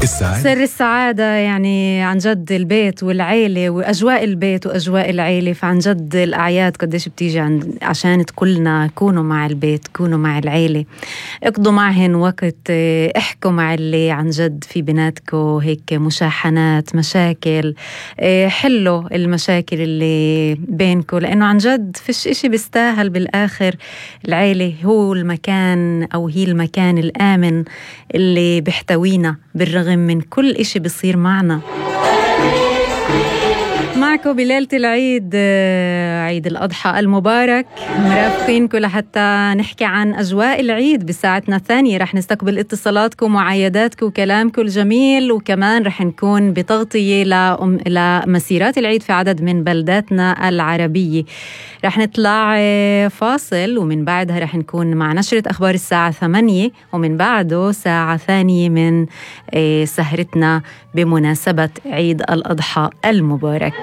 سر السعادة يعني عن جد البيت والعيلة وأجواء البيت وأجواء العيلة. فعن جد الأعياد قديش بتيجي عشان تكلنا كونوا مع البيت، كونوا مع العيلة، اقضوا معهن وقت، احكوا مع اللي عن جد في بيناتكو هيك مشاحنات، مشاكل، حلوا المشاكل اللي بينكو، لأنه عن جد فيش إشي بيستاهل بالآخر. العيلة هو المكان أو هي المكان الآمن اللي بيحتوينا بالرغم من كل إشي بيصير معنا. معكم بليلة العيد، عيد الأضحى المبارك، مرافقينكم لحتى نحكي عن أجواء العيد. بساعتنا الثانية رح نستقبل اتصالاتكم وعياداتكم وكلامكم الجميل، وكمان رح نكون بتغطية لمسيرات العيد في عدد من بلداتنا العربية. رح نطلع فاصل ومن بعدها رح نكون مع نشرة أخبار الساعة 8، ومن بعده ساعة ثانية من سهرتنا بمناسبة عيد الأضحى المبارك.